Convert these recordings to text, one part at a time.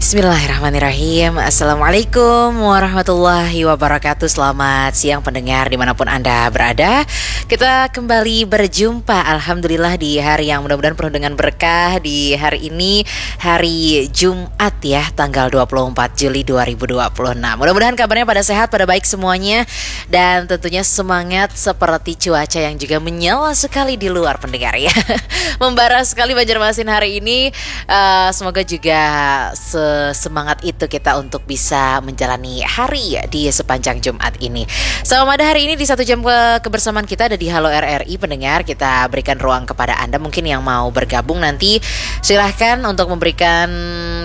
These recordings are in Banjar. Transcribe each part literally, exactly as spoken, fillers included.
Bismillahirrahmanirrahim. Assalamualaikum warahmatullahi wabarakatuh. Selamat siang pendengar dimanapun Anda berada. Kita kembali berjumpa, alhamdulillah, di hari yang mudah-mudahan penuh dengan berkah. Di hari ini, hari Jumat ya, tanggal dua puluh empat Juli dua ribu dua puluh enam. Mudah-mudahan kabarnya pada sehat, pada baik semuanya. Dan tentunya semangat seperti cuaca yang juga menyala sekali di luar, pendengar ya. Membara sekali Banjarmasin hari ini. Eh, semoga juga sesemangat itu kita untuk bisa menjalani hari di sepanjang Jumat ini. Selamat hari ini di satu jam ke kebersamaan kita ada di Halo R R I, pendengar. Kita berikan ruang kepada Anda mungkin yang mau bergabung nanti, silahkan untuk memberikan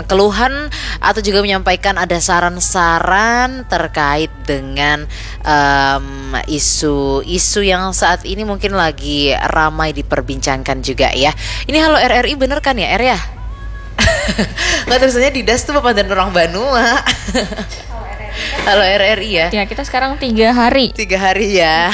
keluhan atau juga menyampaikan ada saran-saran terkait dengan, em, isu-isu yang saat ini mungkin lagi ramai diperbincangkan juga ya. Ini Halo R R I bener kan ya, Er ya? Nggak, tulisannya di das tuh papan dan orang Banua. Halo R R I ya. Ya, kita sekarang tiga hari. Tiga hari ya.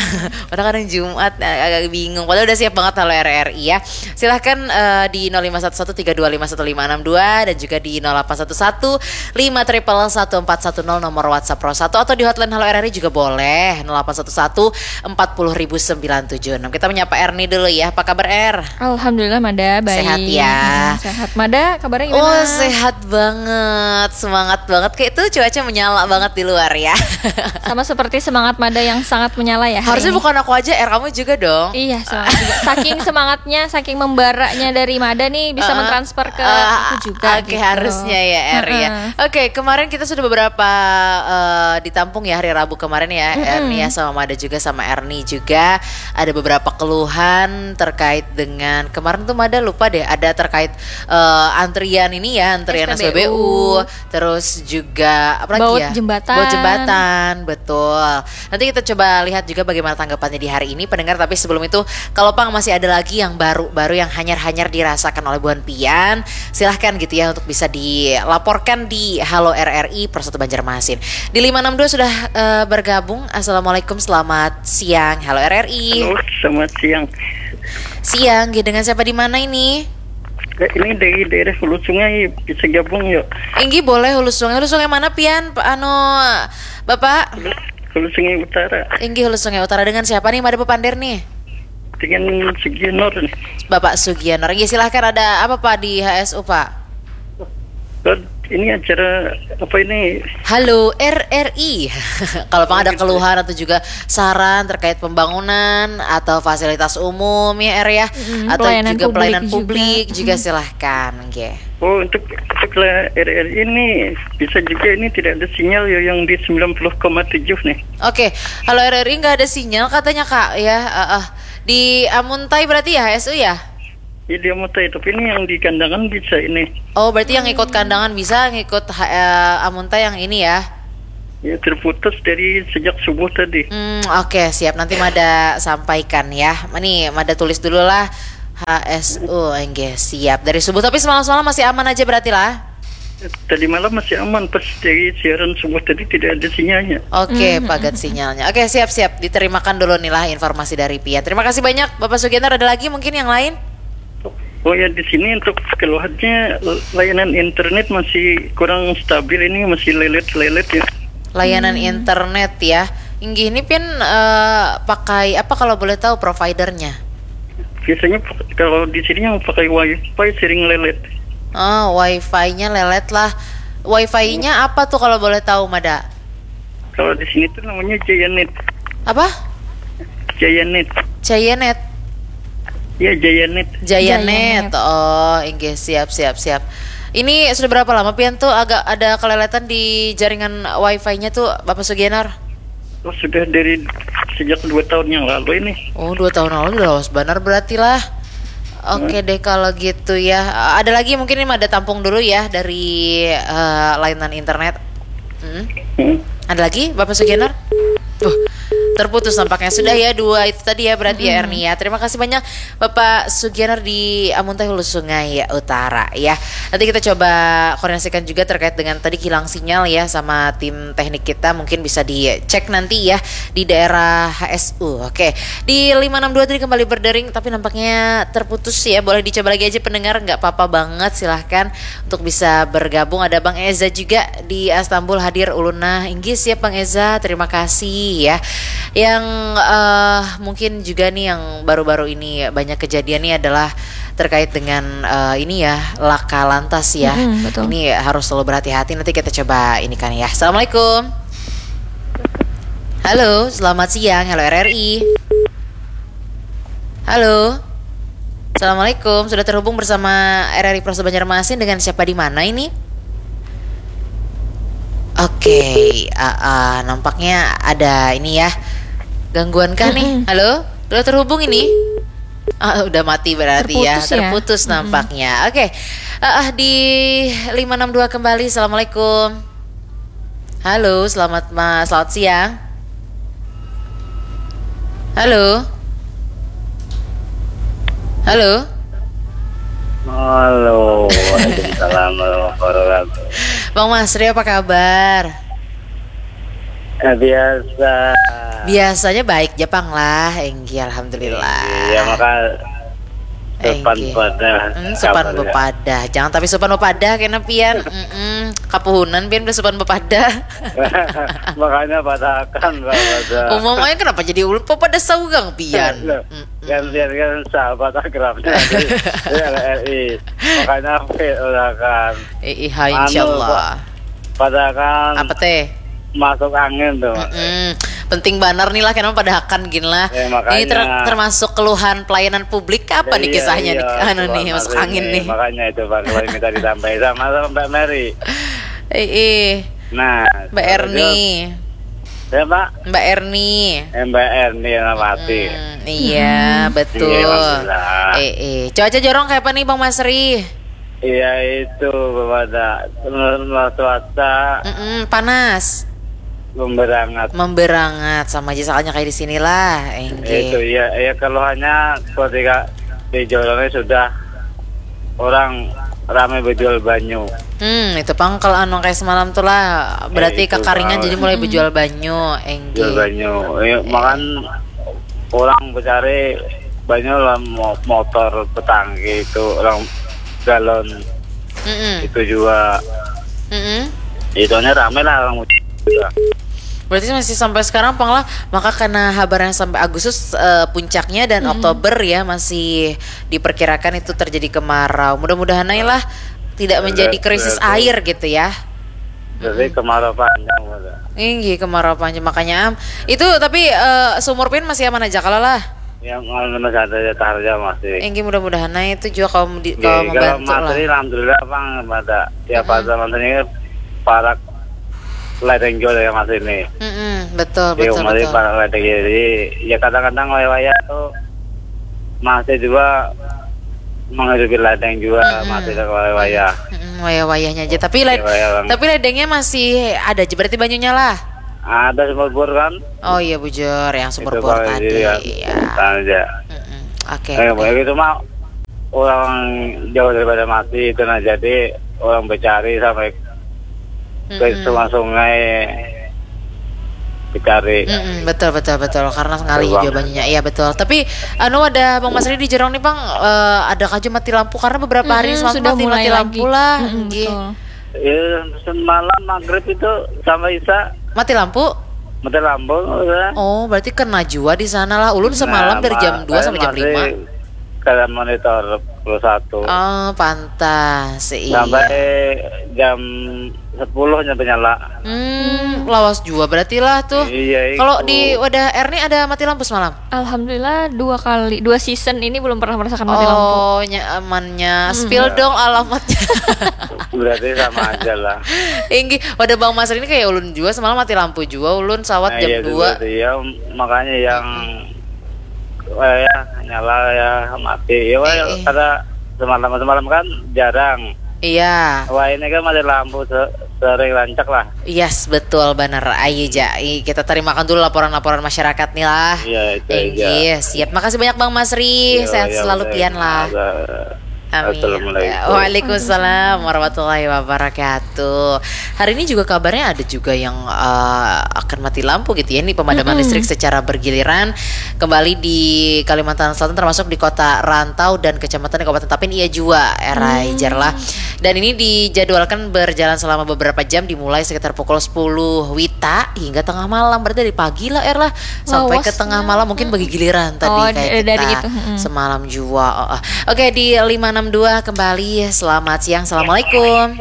Padahal kadang Jumat, eh, agak bingung. Padahal udah siap banget Halo R R I ya. Silahkan, eh, di nol lima satu satu tiga dua lima satu lima enam dua dan juga di nol delapan satu satu lima triple satu empat satu nol nomor WhatsApp Pro satu, atau di hotline Halo R R I juga boleh, nol delapan satu satu empat puluh ribu sembilan tujuh enam. Kita menyapa Erni dulu ya. Apa kabar, Er? Alhamdulillah, Mada, baik. Sehat ya? Hmm, sehat. Mada, kabarnya gimana? Oh, sehat banget. Semangat banget. Kayak itu cuaca menyala banget di luar ya. Sama seperti semangat Mada yang sangat menyala ya hari ini. Harusnya bukan aku aja, Er, kamu juga dong. Iya, semangat juga. Saking semangatnya, saking membaranya dari Mada nih, bisa, eh, mentransfer ke, eh, aku juga, oke, gitu. Harusnya ya, Er, ya. Heeh. Oke, kemarin kita sudah beberapa, eh, ditampung ya hari Rabu kemarin ya, Mm-mm. Erni ya, sama Mada juga, sama Erni juga. Ada beberapa keluhan terkait dengan, kemarin tuh Mada lupa deh, ada terkait, eh, antrian ini ya, antrian S P B U. S P B U, terus juga apa lagi ya? Baut jembatan. Baut jembatan, betul. Nanti kita coba lihat juga bagaimana tanggapannya di hari ini, pendengar. Tapi sebelum itu, kalau pang masih ada lagi yang baru-baru, yang hanyar-hanyar dirasakan oleh buhan pian, silahkan gitu ya untuk bisa dilaporkan di Halo R R I Pro satu Banjarmasin. Di lima enam dua sudah, eh, bergabung. Assalamualaikum, selamat siang. Halo R R I. Halo, selamat siang. Siang, nggih, dengan siapa di mana ini? Eh, ini dari daerah Hulu Sungai, bisa gabung yuk. Inggih, boleh, Hulu Sungai. Hulu Sungai mana pian, Pak, anu, Bapak? Hulu, Hulu Sungai Utara. Inggih, Hulu Sungai Utara. Dengan siapa nih, Mada bepander nih? Dengan Sugianor nih. Bapak Sugianor. Inggih, silahkan, ada apa, Pak, di H S U, Pak? Ini acara apa ini? Halo R R I. Kalau pang ada, oh, gitu, keluhan atau juga saran terkait pembangunan atau fasilitas umum ya, Er ya, mm-mm, atau pelayanan juga publik pelayanan juga. Publik juga, mm-mm, silahkan, nggih. Oh, untuk, untuk la-, R R I ini bisa juga ini tidak ada sinyal ya yang di sembilan puluh koma tujuh nih. Oke, kalau R R I nggak ada sinyal katanya, Kak, ya. Eh, eh. Di Amuntai berarti ya, H S U ya? Ya, di Amuntai, tapi ini yang di Kandangan bisa ini. Oh, berarti yang ikut Kandangan bisa, ngikut H-, eh, Amuntai yang ini ya? Ya, terputus dari sejak subuh tadi. Hmm, oke, siap. Nanti Mada sampaikan ya. Ini Mada tulis dulu lah. H S U, enggih, siap. Dari subuh, tapi semalam-semalam masih aman aja berarti lah? Tadi malam masih aman, pas dari siaran subuh tadi tidak ada sinyalnya. Oke, mhm, pagat sinyalnya. Oke, siap-siap. Diterimakan dulu nih lah informasi dari pian. Terima kasih banyak, Bapak Sugianto. Ada lagi mungkin yang lain? Oh ya, di sini untuk keluhannya, layanan internet masih kurang stabil ini, masih lelet-lelet ya. Layanan, hmm, internet ya. Inggih, ini pian, eh, pakai apa kalau boleh tahu providernya? Biasanya pak-, kalau di sini yang pakai wifi sering lelet. Oh, wifi-nya lelet lah. Wifi-nya apa tuh kalau boleh tahu, Mada? Kalau di sini tuh namanya Giantnet. Apa? Giantnet. Giantnet. Ya, Giantnet. Giantnet. Giantnet. Oh, inggih, siap, siap, siap. Ini sudah berapa lama pian tuh agak ada keleletan di jaringan wifi-nya tuh, Bapak Sugianor? Oh, sudah dari sejak dua tahun yang lalu ini. Oh, dua tahun lalu udah lawas banar berarti lah. Oke, hmm, deh kalau gitu ya. Ada lagi mungkin ini Mada tampung dulu ya dari, eh, layanan internet. Hmm. Hmm. Ada lagi, Bapak Sugianor? Tuh, Terputus nampaknya. Sudah ya dua itu tadi ya berarti ya, Erni ya. Terima kasih banyak Bapak Sugianar di Amuntai Hulu Sungai Utara ya. Nanti kita coba koordinasikan juga terkait dengan tadi kilang sinyal ya sama tim teknik kita. Mungkin bisa dicek nanti ya di daerah H S U. Oke. Di lima enam dua tadi kembali berdering tapi nampaknya terputus ya. Boleh dicoba lagi aja pendengar, nggak apa-apa banget, silahkan untuk bisa bergabung. Ada Bang Eza juga di Istanbul hadir. Ulun nah, inggih siap Bang Eza, terima kasih ya. Yang eh, mungkin juga nih yang baru-baru ini banyak kejadian nih adalah terkait dengan eh, ini ya, laka lantas ya. Mm-mm, betul. Ini harus selalu berhati-hati. Nanti kita coba ini kan ya. Assalamualaikum. Halo, selamat siang. Halo R R I. Halo. Assalamualaikum. Sudah terhubung bersama R R I Pro Banjarmasin. Dengan siapa di mana ini? Oke, ah, ah, nampaknya ada ini ya. Gangguan kah nih? Mm-mm. Halo? Sudah terhubung ini? Ah, udah mati berarti ya. Terputus ya? Terputus Mm-mm. Nampaknya. Oke. Ah, ah, di lima enam dua kembali. Assalamualaikum. Halo, selamat ma selamat siang. Halo. Halo. Halo, waalaikumsalam warahmatullahi wabarakatuh. Bang Masri, apa kabar? Eh, biasa. Biasanya baik ja pang lah, Enggi, alhamdulillah. Iya, maka sopan Enggi. Pada. Hmm, sopan Kabarnya. Bepadah. Jangan tapi sopan bepadah kena pian. Mm-mm. Kapuhunan pian udah sopan bepadah. Makanya padahakan lah pada. Umum aja kenapa jadi ulun pepada saugang pian. Loh, Mm-mm. Gantian kan sahabat akrabnya di R R I. Makanya apa ya, udah kan. Eh, iya, Anu, insyaallah. Pada kan Apa teh? Masuk angin tuh. Mm-mm. Penting banar nih lah, kenapa padahakan gin lah. Ya, makanya. Ini ter- termasuk keluhan pelayanan publik apa nih Iya, kisahnya iya, nih? Anu nih, keluhan masuk masuk angin ini. Nih. Makanya itu Pak, kalau minta ditambahi sama, sama Mbak Mary. Eh, eh. Nah, Mbak terus, Erni. Ya Pak, Mbak Erni. eh, Mbak Erni yang mati. Hmm, iya, betul. Iya, alhamdulillah. Eh, eh. Cuaca jorong kayak apa nih Bang Masri? Iya itu pada menurut cuaca Mm-mm, panas. Memberangat. Memberangat sama aja soalnya kayak di sinilah, Itu Enggi. Ya, ya keluhannya ketika di Jorongnya sudah orang ramai berjual banyu. Hmm, itu pang kalau anu kayak semalam tuh lah, berarti Eh, itu kakaringan pang. Jadi mulai berjual banyu, Enggi. Jual banyu. Ya, makan orang mencari banyu lah mo- motor petangki itu orang galon Mm-mm. Itu juga Mm-mm. Itunya ramai lah orang juga. Berarti masih sampai sekarang pang lah, maka karena habar yang sampai Agustus eh, puncaknya dan Oktober ya masih diperkirakan itu terjadi kemarau. Mudah-mudahan aja lah tidak menjadi Betul, krisis betul. Air gitu ya. Jadi kemarau panjang pada. Inggi kemarau panjang makanya am. Itu tapi eh, seumur pian masih aman aja kalau lah. Yang masih ada ya taharja masih. Inggi mudah-mudahan aja itu juga kalau di, Oke, kalau kalau membantu Mas lah. Ri alhamdulillah Bang pada tiap pada Mas ini parak ledeng juga ya Mas ini. Mm-mm, betul Di betul Umar ini betul. Parak ledeng jadi ya kadang-kadang wayah-wayah tuh masih juga menghidupi ledeng juga Mm-mm. Masih ada wayah-wayah. Mm-mm, wayah-wayahnya aja. Tapi led, Wayah-wayah. Tapi ledengnya masih ada aja berarti banyunya lah. Ada sumur bor kan? Oh iya bujur yang sumur Itu bor kalau tadi. dilihat Iya. Aja. Mm-mm. Oke. Eh, Oke. Begitu mah orang jauh daripada mati itu nah jadi orang bercari sampai ke Mm-mm. sungai-sungai dicari. Mm-mm, betul betul betul karena ngalih Betul, Bang. Jawabannya iya betul tapi anu ada Bang Masri di Jorong nih Bang eh, ada kaju mati lampu karena beberapa hari Mm-mm, semalam sudah mati, mulai mati lagi. Lampu lah Mm-mm, Nggih. Betul. Ya, semalam maghrib itu sama Isa Mati lampu mati lampu udah. Oh berarti kena jua di sana lah ulun semalam Nah, dari jam ma- dua saya sampai jam masih lima Kalian monitor pukul satu Oh pantas iya. Sampai jam sepuluh nyampe nyala. Hmm, lawas jua berarti lah tuh. Iya, Kalau itu. Di wadah Erni ada mati lampu semalam? Alhamdulillah dua kali, dua season ini belum pernah merasakan mati lampu. Oh, nyamannya. Spill dong alamatnya. Berarti sama aja lah. Inggi, wadah Bang Masri ini kayak ulun jua semalam mati lampu jua ulun sawat Nah, jam iya, itu dua. Berarti ya makanya yang eh, ya, nyala ya mati ya wah, Eh, eh. Karena semalam semalam kan jarang. Iya. Wah ini kan mati lampu se- Sering rancak lah. Yes, betul banar. Ayo ja, i- kita terimakan dulu laporan-laporan masyarakat nih lah. Iya, itu aja. Inggih, siap. Makasih banyak Bang Masri. Iya, sehat iya, selalu betul. Pian lah. Ada. Amin. Assalamualaikum. Waalaikumsalam warahmatullahi wabarakatuh. Hari ini juga kabarnya ada juga yang eh, akan mati lampu gitu ya. Ini pemadaman listrik secara bergiliran kembali di Kalimantan Selatan, termasuk di Kota Rantau dan Kecamatan Kabupaten Tapin, iya jua, erai jar lah. Dan ini dijadwalkan berjalan selama beberapa jam, dimulai sekitar pukul sepuluh wita hingga tengah malam. Berarti dari pagi lah, er lah, sampai ke tengah malam. Mungkin bagi giliran tadi. Oh, kayak d- dari kita itu, mm-mm. Semalam jua. Oh, oh. Oke, di lima enam dua kembali. Selamat siang. Assalamualaikum.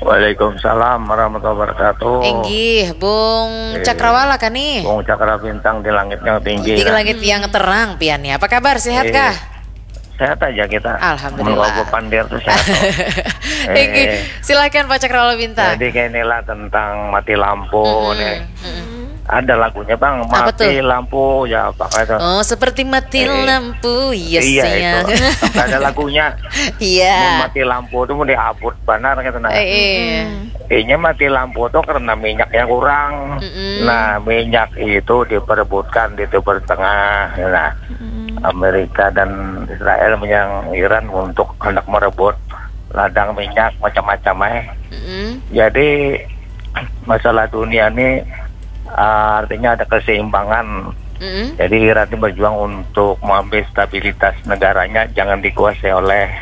Waalaikumsalam warahmatullahi wabarakatuh. Inggih, Bung Eh, Cakrawala kan nih? Bung Cakra Bintang di langit yang tinggi, di kan? Langit yang terang pian ya. Apa kabar? Sehat Eh, kah? Sehat aja kita. Alhamdulillah. Menurut Bapak Pandir tuh sehat kok. Eh, Inggih, silakan Pak Cakrawala Bintang. Jadi kayak inilah tentang mati lampu Mm-mm, nih. Mm-mm. Ada lagunya, Bang, apa tuh? Mati lampu, ya, apa itu? Oh, seperti mati Eh, lampu, yes, iya, ya. Itu. Sampai ada lagunya. Iya. Mau mati lampu tuh mau diabut banar gitu, nah. Eh, eh. Hmm. Ini mati lampu tuh karena minyaknya kurang. Mm-mm. Nah, minyak itu diperebutkan di Timur Tengah. Nah, Mm-mm. Amerika dan Israel menyerang Iran untuk hendak merebut ladang minyak macam-macam, eh. Mm-mm. Jadi, masalah dunia ini, ah, artinya ada keseimbangan. Mm-mm. Jadi, Iran ini berjuang untuk mengambil stabilitas negaranya, jangan dikuasai oleh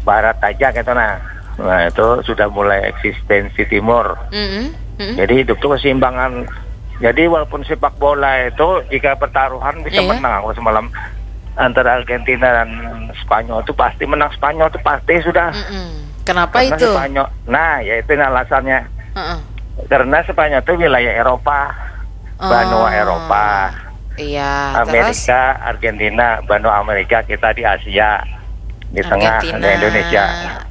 Barat aja gitu, nah. Nah, itu sudah mulai eksistensi Timur. Mm-mm. Mm-mm. Jadi, hidup tuh keseimbangan. Jadi, walaupun sepak bola itu, jika pertaruhan bisa Iya. menang aku semalam antara Argentina dan Spanyol tuh pasti menang, Spanyol tuh pasti sudah. Mm-mm. Kenapa Karena itu? Spanyol, nah, ya itu ini alasannya. Heeh. Karena Spanyol itu wilayah Eropa, Oh. Benua Eropa. Iya, terus? Amerika, Argentina, benua Amerika, kita di Asia, di tengah, Argentina, di Indonesia.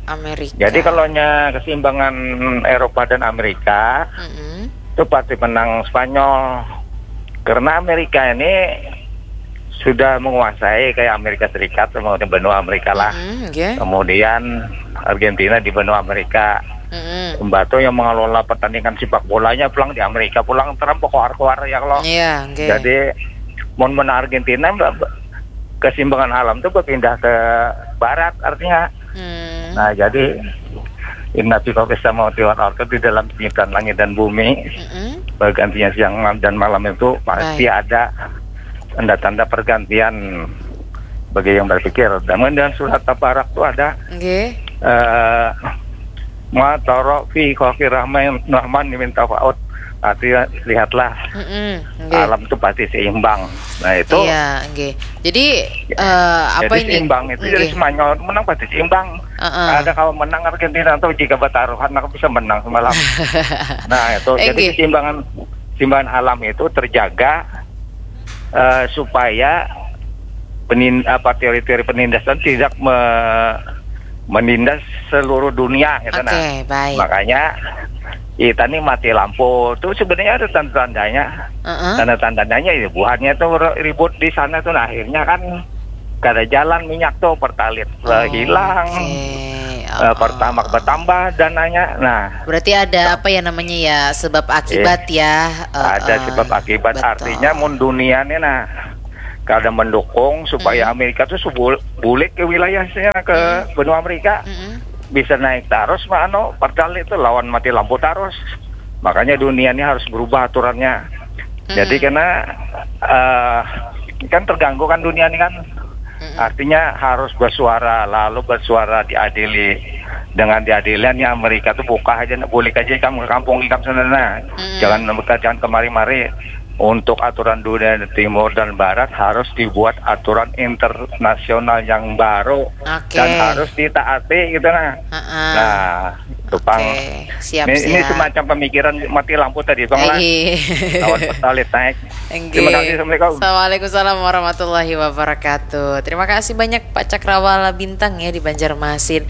Amerika. Jadi kalau nya keseimbangan Eropa dan Amerika, Mm-mm. itu pasti menang Spanyol. Karena Amerika ini sudah menguasai kayak Amerika Serikat sama benua Amerika lah. Mm-mm, oke. Kemudian Argentina di benua Amerika. Mm-mm. Mbah tuh yang mengelola pertandingan sepak bolanya pulang di Amerika, pulang Trump keluar-keluar ya kalau. Iya, oke. Jadi, mun menang Argentina, Mbak, keseimbangan alam tuh berpindah ke barat artinya. Hmm. Nah, jadi, Inna fi khalqis samawati wal ardi, di dalam penciptaan langit dan bumi, Mm-mm. bergantinya siang dan malam itu pasti Baik. ada tanda-tanda pergantian bagi yang berpikir. Dan kemudian surat Tabarak itu ada, Nggih. eh, "Ma tara fi khalqir rahman, rahman min tafaut." Artinya, lihatlah, Mm-mm, nggih. alam itu pasti seimbang. Nah, itu. Iya, nggih. Jadi, eh, apa Jadi ini? seimbang itu dari Nggih. Spanyol menang pasti seimbang. Heeh. Ada kalau menang Argentina atau jika bertaruhan, maka bisa menang semalam. Nah, itu. Jadi Nggih. keseimbangan, keseimbangan alam itu terjaga, eh, supaya penin-, apa, teori-teori penindasan tidak me-, menindas seluruh dunia, gitu, nah. Oke, baik. Makanya kita nih mati lampu tuh sebenarnya ada tanda-tandanya. Heeh. Tanda-tandanya ya buhannya tuh ri-, ribut di sana tuh, nah, akhirnya kan kada jalan minyak tuh, pertalit, eh, Oh, hilang. oke. Eh, Oh, pertamax oh. bertambah dananya. Nah, Berarti ada apa ya namanya ya, sebab akibat Iya. ya. Eh, Ada eh, sebab akibat. betul. Artinya mun dunia nih, nah, kada mendukung supaya Mm-mm. Amerika tuh subul-, bulik ke wilayahnya, ke Mm-mm. benua Amerika. Mm-mm. Bisa naik terus, mah, anu, pertalit tuh lawan mati lampu terus. Makanya dunia ini harus berubah aturannya. Jadi Mm-mm. karena, eh, kan terganggu kan dunia ini kan. Mm-mm. Artinya harus bersuara, lalu bersuara diadili. Dengan diadiliannya Amerika tuh buka aja, bulik aja ikam ke kampung ikam sana, nah. Mm-mm. Jangan, jangan kemari-mari. Untuk aturan dunia timur dan barat harus dibuat aturan internasional yang baru Oke. dan harus ditaati gitu, nah. Heeh. Nah, itu pang. Oke, siap, Ini, ini siap. semacam pemikiran mati lampu tadi, Bang, lah. Iya. Lawan pertalit naik. Enggih. Terima kasih, Assalamualaikum. Waalaikumsalam warahmatullahi wabarakatuh. Terima kasih banyak Pak Cakrawala Bintang ya di Banjarmasin.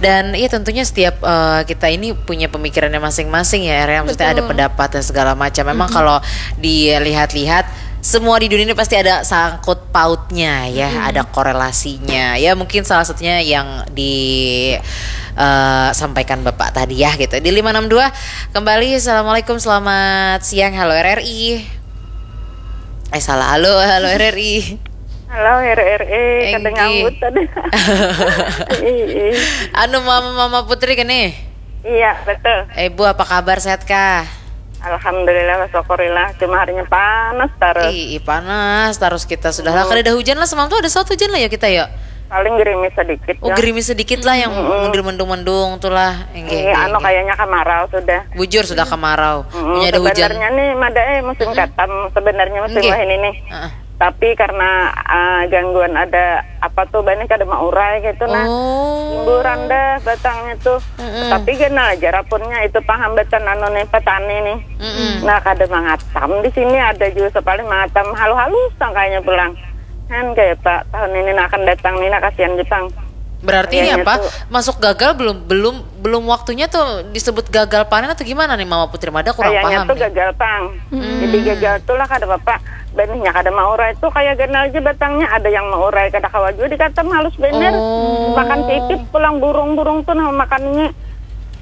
Dan ya tentunya setiap, eh, kita ini punya pemikirannya masing-masing ya, Ere. Maksudnya ada Betul. pendapat dan segala macam. Memang Mm-mm. kalau dilihat-lihat, semua di dunia ini pasti ada sangkut pautnya ya, Mm-mm. ada korelasinya. Ya mungkin salah satunya yang di, eh, sampaikan Bapak tadi ya gitu. Di lima enam dua kembali, "Assalamualaikum, selamat siang, halo R R I." Eh, salah, "Halo, halo R R I." Halo, R R I, kada Enggih. ngambut tadi. Ih, ih. Anu, Mama, Mama Putri gini. Iya, betul. Eh, Bu, apa kabar, sehat kah? Alhamdulillah, syukurillah. Cuma harinya panas terus. Ih, ih, panas terus kita sudah lah. Hmm. Kada ada hujan lah, semalam tuh ada saut hujan lah ya kita ya. Paling gerimis sedikit Oh, ya. gerimis sedikit lah yang Mm-mm. mendung-mendung tuh lah. Enggak, Iya, enggak, anu enggak. kayaknya kemarau sudah. Bujur sudah kemarau. Mm-mm, Punya ada hujan. Sebenarnya nih, Mada, eh, musim Mm-mm. katam sebenarnya musim Enggak. wah ini nih. Heeh. Tapi karena ah, gangguan ada apa tuh, banih kada maurai gitu nah. Oh. Timburan dah batangnya tuh. Mm-mm. Tapi ganal aja rapunnya, itu pang hambatan anu nih, petani nih. Mm-mm. Nah, kada mangatam di sini, ada juga sekali mangatam halus-halus sangkanya pulang. Kan kayak Pak tahun ini nah akan datang nih, nah kasihan Jepang. Berarti ini Kayaknya apa? tuh Masuk gagal belum, belum, belum waktunya tuh disebut gagal panen atau gimana nih, Mama Putri? Mada kurang Kayaknya paham tuh nih. gagal pang. Hmm. Jadi gagal tuh lah kada apa-apa. Benihnya kada maurai tuh kayak ganal aja batangnya, ada yang maurai kada kawa juga dikatam, halus bener. Oh. Makan pipit pulang burung-burung tuh nah makannya.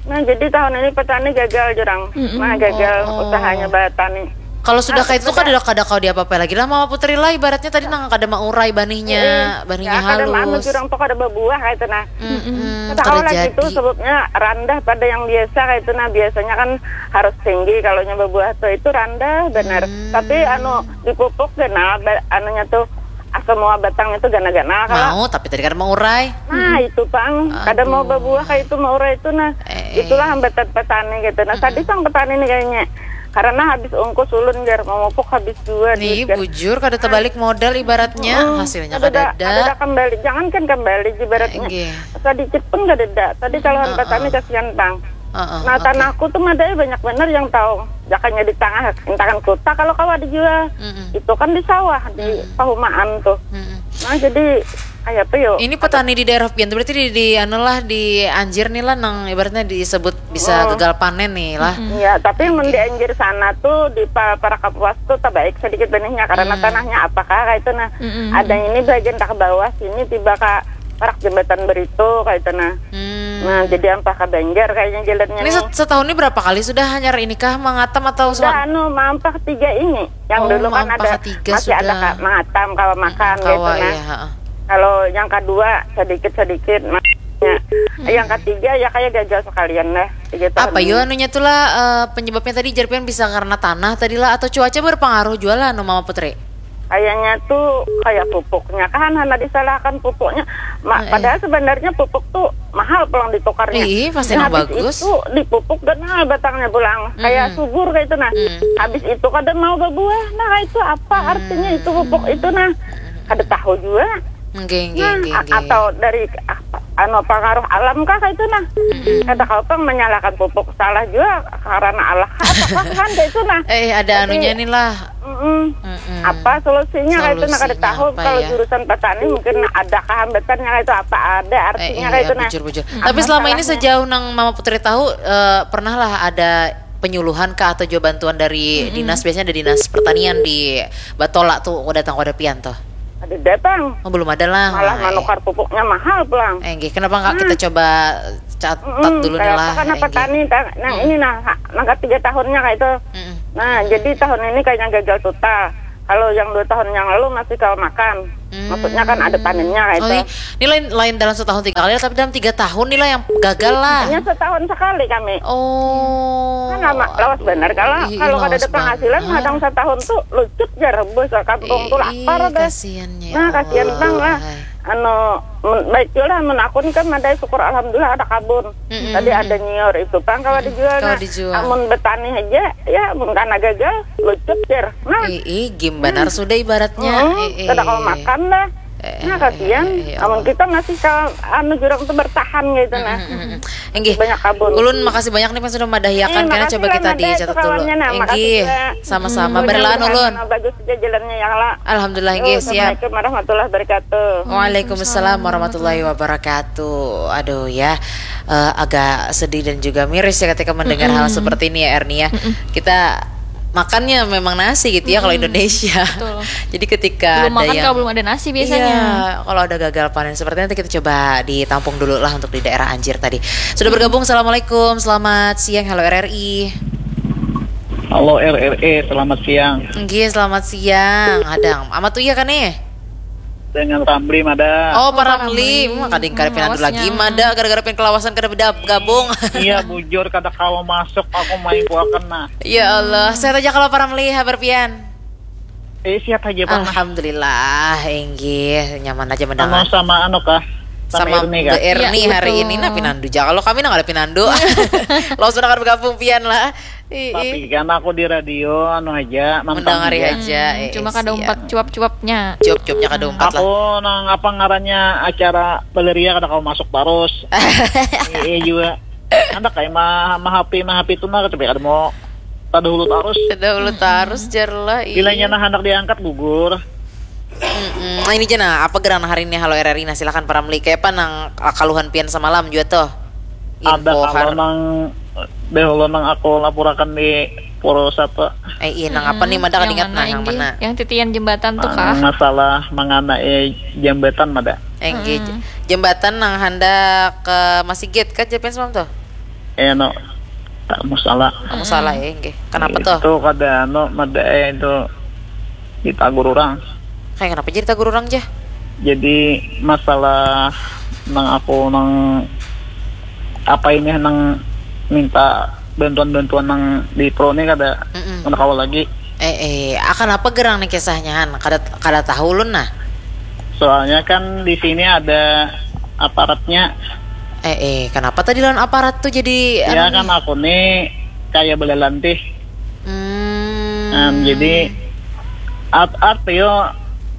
Nah, jadi tahun ini petani gagal jurang. Mm-mm. Nah, gagal Oh, oh. usahanya batani. Kalau sudah Nah, kayak itu kada, kada kau diapa-apa lagi lah, Mama Putri lah, ibaratnya tadi nang kada maurai banihnya, Eh, banihnya ya, kada anu halus. jurang tuh kada babuah kayak itu nah. Mm-mm. Mm-mm, Kada kada kawa lagi itu jadi. sebabnya randah pada yang biasa kayak itu nah. Biasanya kan harus tinggi kalau nya babuah tuh, itu randah benar. Hmm. Tapi anu dipupuk ganal ba- anunya tuh ah, semua batang itu gana-gana kalau Mau, tapi tadi kada maurai. Nah, itu pang kada mau Aduh. babuah kayak itu maurai itu nah. Eh, Itulah eh. hambatan petani gitu. Nah, Mm-mm. sadis pang petani nih kayaknya. Karena habis ongkos ulun jar memupuk habis juga Nih, duit jar. bujur kada terbalik modal ibaratnya, Mm-mm. hasilnya Ada kada dah, ada ada. dah kembali. Jangankan kembali ibaratnya. Enggih. Sedikit pun kada ada. Tadi kalau Heeh. petani kasihan pang. Heeh, Nah, oke. tanahku tuh madai banyak bener yang tahu. Jakanya di tengah intangan kota kalau kawa dijual. Mm-mm. Itu kan di sawah, di Mm-mm. pahumaan tuh. Mm-mm. Nah, jadi kayak apa yo? Ini petani di daerah pian tuh berarti di, di anu lah, di Anjir nih lah, nang ibaratnya disebut bisa Oh. gagal panen nih lah. Mm-mm. Iya, tapi mun Oke. di Anjir sana tuh di pa- para kapuas tuh terbaik sedikit benihnya karena Hmm. tanahnya apakah kayak itu nah. Mm-mm. Ada ini bagian tak ke bawah sini tiba ke parak jembatan Berito kayak itu nah. Hmm. Nah, jadi ampah ke Banjar kayaknya jalannya Ini nih. set- setahun ini berapa kali sudah hanyar ini kah mangatam atau Sudah sema- anu mampah tiga ini. Yang Oh, dulu kan mampah ada tiga masih ada sudah. ka- mangatam kawa makan Mm-mm, kayak itu kawa, nah. ya, heeh. Kalau yang kedua sedikit-sedikit maksudnya. Mm-mm. Yang ketiga ya kayak gagal sekalian dah. Tiga tahun Apa yo ini. anunya tuh lah, eh, penyebabnya tadi jar pian bisa karena tanah tadi lah atau cuaca berpengaruh juga lah anu Mama Putri? Kayaknya tuh kayak pupuknya kan hana disalahkan pupuknya. Ma- Heeh. Padahal sebenarnya pupuk tuh mahal pulang ditukarnya. Ih, pasti Nah, nang habis bagus. itu dipupuk ganal batangnya pulang. Kayak Mm-mm. subur kayak itu nah. Mm. Habis itu kada mau berbuah. Nah, itu apa artinya itu pupuk itu nah? Kada tahu juga. Nggih, nggih, Nah, nggih, a- nggih. atau dari apa, anu pengaruh alam kah kayak itu nah? Mm-mm. Kada kau pang menyalahkan pupuk salah juga karena Allah kah, apa kah kan kayak itu nah. Eh, ada Tapi anunya nih lah. Mm-mm. Mm-mm. Apa solusinya kayak itu nah? Kada Solusinya tahu apa kalau ya? jurusan petani mungkin ada kehambatannya kayak itu, apa ada artinya Eh, kayak iya, itu nah. bujur, bujur. Apa Tapi selama ini salahnya? sejauh nang Mama Putri tahu, eh, pernah lah ada penyuluhan kah atau juga bantuan dari Mm-mm. dinas? Biasanya ada dinas pertanian di Batola tuh, datang pada pian tuh. Ada datang. Oh, belum ada lah. Malah Eh. manukar pupuknya mahal pulang. Eh, nggih, kenapa nggak kita Hmm. coba catat Mm-mm, dulu nih kayak lah, apa kan eh, nggih. petani ta- nah Hmm. ini nah ha- nang ketiga tahunnya kayak itu. Mm-mm. Nah, jadi tahun ini kayaknya gagal total. Kalau yang dua tahun yang lalu masih kawa makan. Maksudnya kan ada panennya kayak Oh, itu. iya. Ini lain lain dalam setahun tiga kali, tapi dalam tiga tahun nih lah yang gagal lah. Hanya setahun sekali kami. Oh. Kan lama, lawas benar. Kalau Ih, kalau kada lawas ada penghasilan, benar. kadang setahun tuh lucut jar bos kampung tuh Ih, lapar deh. kasihannya ya Nah, kasihan Allah. bang lah. Hai. Anu, men- baik juga lah, mun aku ni kan madai syukur alhamdulillah ada kabun. Mm-mm. Tadi ada nyiur itu pang kawa dijual. Kawa Nah, dijual. Amun betani aja, ya mun kana gagal, lucut jar. Nah, Ih, ih, gim banar sudah ibaratnya. Mm-mm. Eh, eh. Kada kawa makan dah. Eh, Nah, eh, kasihan. eh, eh, ya Amun Allah. kita masih ka anu jurang tu bertahan gitu nah. Mm-mm, mm-mm. Inggih. Banyak kabun. Ulun makasih banyak nih Mas sudah madahiakan. Eh, Kena makasih coba lah, kita Mada, dicatat dulu. kawannya. Nah, makasih Inggih. juga. Sama-sama. Mm-mm. Berlaan ulun. Mudah-mudahan bagus juga jalannya ya, Allah. Alhamdulillah, Yo, inggih, siap. Assalamualaikum warahmatullahi wabarakatuh. Waalaikumsalam warahmatullahi wabarakatuh. Aduh ya, eh, agak sedih dan juga miris ya ketika mendengar hal Mm-mm. seperti ini ya, Erni ya. Mm-mm. Kita makannya memang nasi gitu ya kalau Mm-mm. Indonesia. Betul. Jadi ketika Belum ada makan yang kalau belum ada nasi biasanya. Iya, kalau ada gagal panen seperti itu, kita coba ditampung dulu lah untuk di daerah Anjir tadi. Sudah bergabung, assalamualaikum, selamat siang, halo R R I. Halo R R E, selamat siang. Nggih, selamat siang. Hadang, Amat Uya kan nih? Dengan Ramli mada. Oh, Pak Pak Ramli. Ramli. Hmm, kadang kada Hmm, pinandu lagi awasnya. Mada gara-gara pengen kelawasan kada beda gabung. Iya, bujur kada kawa masuk, aku main kuakan nah. Ya Allah, sehat aja kalau Pak Ramli, habar pian? Eh, sihat aja pang nah. Alhamdulillah, inggih, nyaman aja Anu mendengar. Sama anu kah? Sama, Sama Erni kah? Mbak Erni Iya, hari betul. Ini, nah pinandu ja. Kalau kami nah kada pinandu. Langsung akan bergabung pian lah. Ih, ih. Tapi kan aku di radio anu aja, mantang Mendengari aja. aja. Hmm, Eh, cuma eh, kada siap. Umpat cuap-cuapnya. Cuap-cuapnya kada umpat lah. Aku nang apa ngarannya acara Valeria kada kawa masuk terus. Iya juga. Anak kayak mah mah happy mah happy tuh nah tapi kada mau kada hulu terus. Kada hulu terus jar lah. Ih. Bilanya nah anak diangkat gugur. Mm-mm. Nah, ini aja nah, apa gerang hari ini, halo R R I, nah silakan Pak Ramli. Kayak apa nang kaluhan pian semalam juga tuh? Ada kalau Infohar. Nang dahulu nang aku lapurakan di Purwokerto. Eh, iya, nang apa nih, mada Yang kadingat mana, nah, yang Inggi? Mana? Yang titian jembatan tuh Nang kah? Masalah mengenai jambatan mada. Eh, nggih, j- jembatan nang handak ke Masigit kan, japian semalam tuh? Eh no, tak masalah. Kamu salah ya, nggih. Kenapa tuh? Itu kada anu mada eh itu ditagur orang. Kayak kenapa jadi tagur orang, Jah? Jadi masalah nang aku nang apa ini nang minta bantuan-bantuan nang di pro ni kada Mm-mm. kada kawa lagi. Eh, eh, akan apa gerang nih kisahnya, Han? Kada, kada tahu ulun nah. Soalnya kan di sini ada aparatnya. Eh, eh, kenapa tadi lawan aparat tuh jadi Ya anu kan nih? Aku nih kayak belalantih. Hmm. Nah, jadi art art yo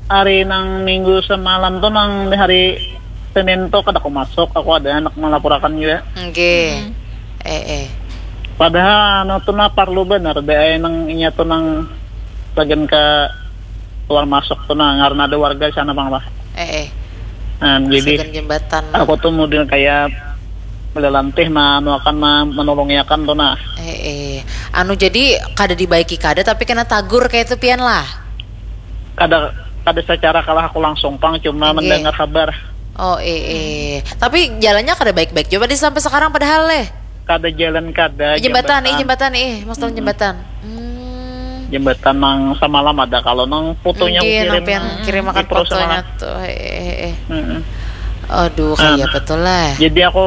hari nang minggu semalam tuh nang di hari Senin tuh kada aku masuk, aku ada anak melapurakan juga. Nggih. Eh, eh. Padahal anu tuh nah parlu benar deh nang inya tuh nang sagan ke keluar masuk tuh nah karena ada warga di sana bang lah. Eh, eh. Nah, jadi Sagan jembatan. Aku tuh model kayak belalantih mah anu akan mah menolongi akan tuh nah. Eh, eh. Anu, jadi kada dibaiki kada, tapi kena tagur kayak itu pian lah. Kada kada secara kalah aku langsung pang cuma Nggih. Mendengar kabar. Oh, eh, eh. Tapi jalannya kada baik-baik juga di sampai sekarang padahal leh. Kada jalan kada Eh, jembatan, eh, jembatan, eh, maksudnya jembatan. Hmm. Jembatan nang semalam ada kalau nang fotonya Nggih, kirim nang pian kirim di akan Pro fotonya semalam. Tuh. Eh, eh, eh. Mm-mm. Aduh, Nah. Kayak betul lah. Jadi aku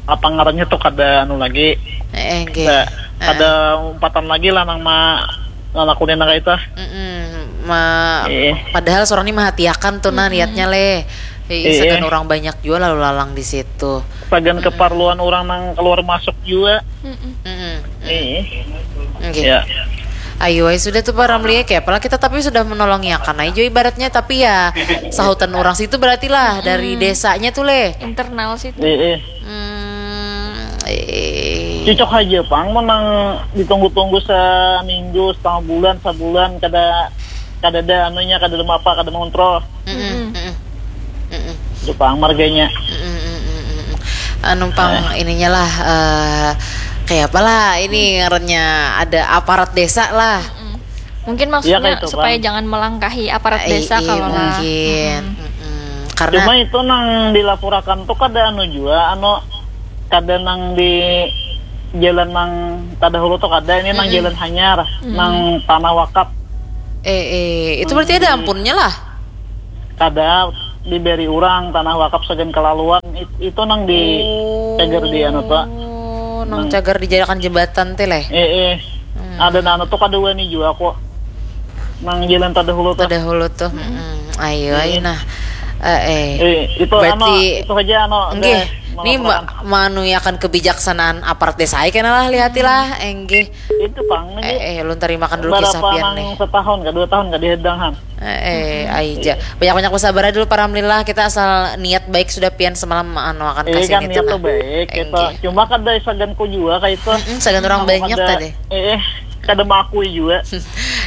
apa ngarannya tuh kada anu lagi. Eh, eh, nggih. Kada, Eh. Kada umpatan lagi lah nang ma ngalakuin nang kayak itu. Mm-mm. Ma- Eh. Padahal seorang ini merhatiakan tuh nah niatnya leh. Eh, Eh, sagan eh. Orang banyak juga lalu lalang di situ. Sagan keperluan orang nang keluar masuk juga. Mm-mm. Mm-mm. Eh. Nggih. Ya. Ayo, ay, sudah tuh Pak Ramli, ya, kayak apalah kita tapi sudah menolongi akan aja ibaratnya, tapi ya sahutan orang situ berarti lah dari desanya tuh leh. Internal situ. Eh, eh. Hmm, eh. Cocok aja pang menang ditunggu-tunggu seminggu, setengah bulan, sebulan kada kada ada anunya, kada ada apa, kada mengontrol. Mm-mm, mm-mm, mm-mm, Itu pang marganya. mm-mm, mm-mm, mm-mm. Anu pang ininya lah, eh, kayak apalah ini ngarannya, ada aparat desa lah. Mm. Mungkin maksudnya Iya, kayak itu, supaya Bang. Jangan melangkahi aparat Eh, desa iya, kalau lah. Mungkin. Mm-mm. Karena Cuma itu nang dilaporakan tuh kada anu jua, anu kada nang di jalan nang kada hulu tuh kada, ini nang jalan hanyar, nang tanah wakaf. Eh, eh, itu berarti ada ampunnya lah. Kada diberi orang tanah wakaf sagan kelaluan it- itu nang di cagar di anu tuh. Oh, nang cagar dijadikan jembatan teh leh. Eh eh. Ada nang anu tuh kada wani jua kok. Nang jalan terdahulu tuh. Terdahulu tuh. Mm-mm. Ayo, ayo nah. Eh, eh. Eh, itu Berarti anu itu aja anu. Nggih, Deh, ini ma- manuyakan kebijaksanaan aparat desa aja kena lah, lihati lah, enggih. Itu pang Eh, nih. eh, ulun terima kan dulu Berapa kisah pian nang nih. Setahun kah dua tahun kah dihedang han. Eh, eh, aja. Banyak-banyak bersabar dulu, para alhamdulillah, kita asal niat baik sudah pian semalam anu akan Iya kasih kan gitu niat nah. Tuh baik kita Enggih. Cuma kada sagan ku jua kayak itu. Mm-mm, sagan orang Aku banyak kada- tadi. Eh, eh, kada mengakui juga.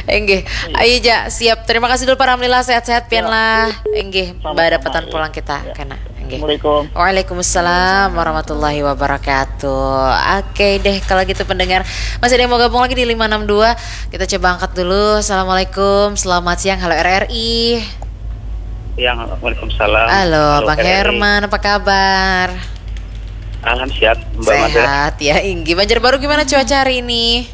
Enggih. Ayo ja, siap. Terima kasih dulu para alhamdulillah, sehat-sehat pian Ya. lah. Enggih, Sama-sama, badapatan iya. Pulang kita Ya. kena. Assalamualaikum. Waalaikumsalam warahmatullahi wabarakatuh. Oke deh, kalau gitu pendengar, masih ada yang mau gabung lagi di lima enam dua. Kita coba angkat dulu. Assalamualaikum, selamat siang. Halo R R I. Siang, waalaikumsalam. Halo, Bang R R I. Herman, apa kabar? Alhamdulillah, Mbak Mada. Sehat ya, inggi. Banjarbaru gimana cuaca hari ini?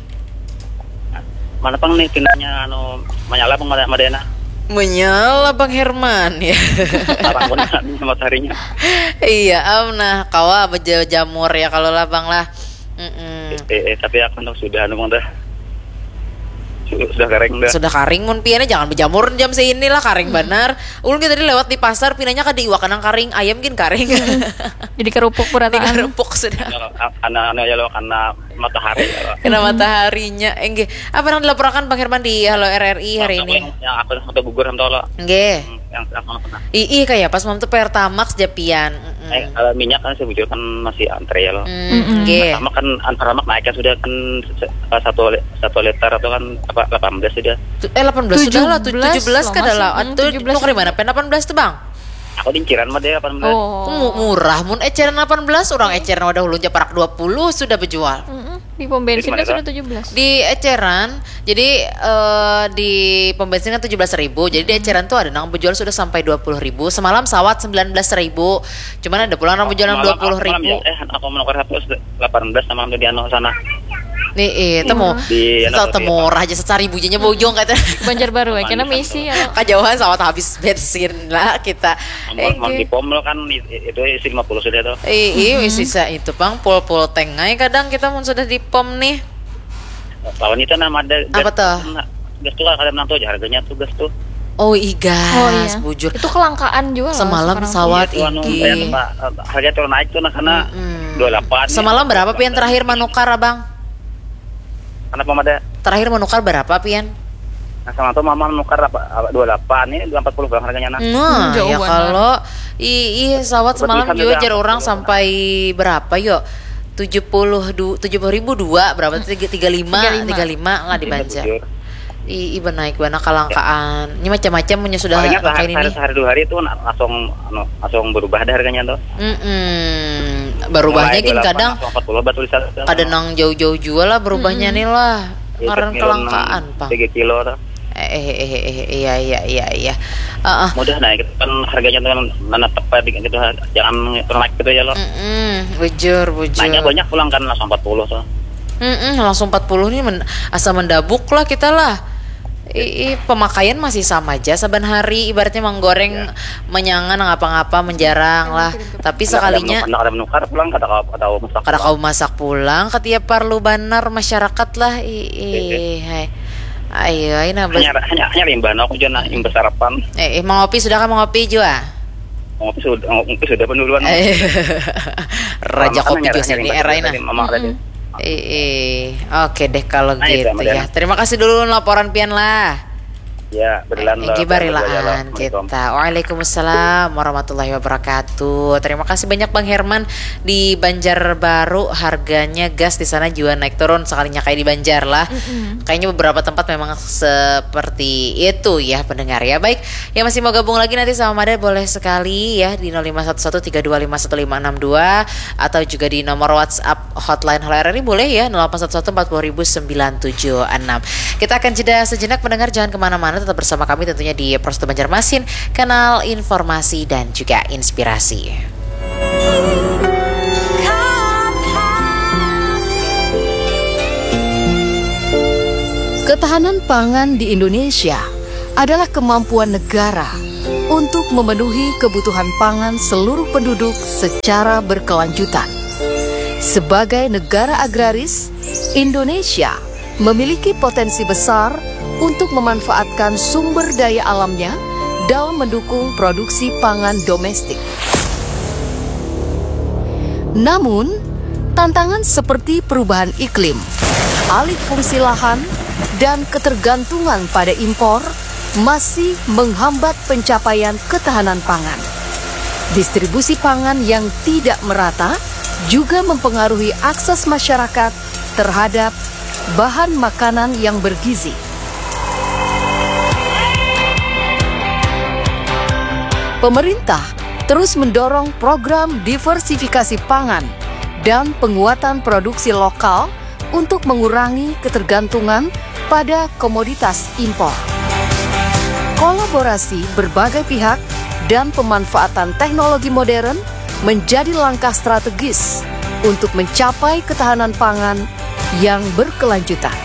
Mana pang nih pinanya anu menyala pang Madena? Menyala Bang Herman ya. Tarang pun mataharinya. Iya, am nah kawa bejamur ya kalau lah Bang lah. Mm-mm. Eh, eh, tapi aku nang sudah anu Bang dah. Sudah kering dah. Sudah kering mun piannya jangan bejamur jam seini lah, kering banar. Ulun kita tadi lewat di pasar pinanya kada iwak nang kering, ayam gin kering. Jadi kerupuk berataan. Kerupuk sudah. Anak-anak ya lo karena matahari ya. Kena mataharinya. Enggih. Apa yang dilaporkan Bang Herman di Halo R R I hari ini? Yang aku yang foto gugur sama tolo. Enggih. Hmm, yang aku pernah. Ih, ih kayak pas mam tuh Pertamax japian. Mm. Eh, kalau minyak kan saya bujur kan masih antre ya loh. Mm, enggih. Pertama kan Pertamax naik kan sudah kan satu satu liter atau kan apa delapan belas sudah. Eh, delapan belas sudah lah, tujuh belas kada lah. Tuh dari mana pen delapan belas tuh, Bang? Aku dinciran mah deh delapan belas. Oh. Murah mun eceran delapan belas, orang eceran wadah ulun japarak dua puluh sudah bejual. Mm -mm. Di pom bensin kan sudah tujuh belas. Di eceran, jadi uh, di pom bensin kan tujuh belas ribu, jadi di eceran tuh ada nang bejual sudah sampai dua puluh ribu. Semalam sawat sembilan belas ribu, cuman ada pulang nang bejual dua puluh ribu. Ya, eh, aku menukar satu delapan belas sama di anu sana. Nih, iya, temu. Di anu, temu murah aja, sesaribu aja bujung kata. Banjarbaru ya, kena misi ya. Kajauhan sawat habis bensin lah kita. Mau di pom kan itu isi lima puluh sudah tuh. Iya, isi itu pang pol-pol tengai kadang kita mun sudah di pom nih. Lawan itu nama ada. Apa tuh? Gas tuh kada menang tuh harganya tuh gas tuh. Oh, igas, oh, iya. Bujur. Itu kelangkaan juga. Semalam sawat iya, iki. Anu, eh, harga turun naik tuh nah karena mm -hmm. dua puluh delapan. Semalam ya, berapa pian terakhir menukar, Abang? Kenapa mada? Terakhir menukar berapa pian? Nah, sama tuh mama menukar apa dua puluh delapan ini dua empat puluh bang harganya nah. Nah, hmm, ya kalau i i sawat semalam juga jar orang sampai berapa yo? Tujuh puluh tujuh puluh ribu dua berapa tuh tiga lima tiga lima lah di Banjar. I, i benaik bana kalangkaan. Ini macam-macam punya sudah kayak ini. Sehari dua hari itu langsung anu, langsung berubah dah harganya tuh. Mm -mm. Berubahnya gin kadang kada nang jauh-jauh jua lah berubahnya nih lah. Ngaran kelangkaan pang. Tiga kilo tuh. Eh, eh, eh, eh, iya, iya, iya, iya. Uh, uh. Mudah naik, kan harganya tuh nana tepat gitu, jangan naik gitu ya lo. Mm -mm, bujur, bujur. Naiknya banyak pulang kan langsung empat puluh tuh. Mm -mm, langsung empat puluh nih men asa mendabuk lah kita lah. I, i, pemakaian masih sama aja saban hari, ibaratnya menggoreng, ya. Menyangan ngapa-ngapa menjarang lah. Tapi sekalinya kada menukar pulang kada kau kada kau masak kada kau masak pulang ketiap parlu banar masyarakat lah. Ih, hai. Ayo, ayo nah. Hanya hanya hanya limbah aku jual nah imbah sarapan. Eh, eh mau ngopi sudah kan mau ngopi jua? Mau ngopi sudah ngopi sudah penduluan. Eh, raja kopi jua sini era ini. Mama tadi. Eh, eh. Oke deh kalau nah, gitu ya. Terima kasih dulu laporan pian lah. Ya, berilaan eh, lah. Barilaan kita. Waalaikumsalam warahmatullahi wabarakatuh. Terima kasih banyak Bang Herman di Banjarbaru. Harganya gas di sana juga naik turun sekalinya kayak di Banjar lah. Mm -hmm. Kayaknya beberapa tempat memang seperti itu ya pendengar ya. Baik, yang masih mau gabung lagi nanti sama Mada boleh sekali ya di nol lima satu satu tiga dua lima satu lima enam dua atau juga di nomor WhatsApp hotline Halo R R I boleh ya, nol delapan satu satu empat puluh ribu sembilan tujuh enam. Kita akan jeda sejenak pendengar, jangan kemana-mana, tetap bersama kami tentunya di Prosto Banjarmasin, kanal informasi dan juga inspirasi. Ketahanan pangan di Indonesia adalah kemampuan negara untuk memenuhi kebutuhan pangan seluruh penduduk secara berkelanjutan. Sebagai negara agraris, Indonesia memiliki potensi besar untuk memanfaatkan sumber daya alamnya dalam mendukung produksi pangan domestik. Namun, tantangan seperti perubahan iklim, alih fungsi lahan, dan ketergantungan pada impor masih menghambat pencapaian ketahanan pangan. Distribusi pangan yang tidak merata juga mempengaruhi akses masyarakat terhadap bahan makanan yang bergizi. Pemerintah terus mendorong program diversifikasi pangan dan penguatan produksi lokal untuk mengurangi ketergantungan pada komoditas impor. Kolaborasi berbagai pihak dan pemanfaatan teknologi modern menjadi langkah strategis untuk mencapai ketahanan pangan yang berkelanjutan.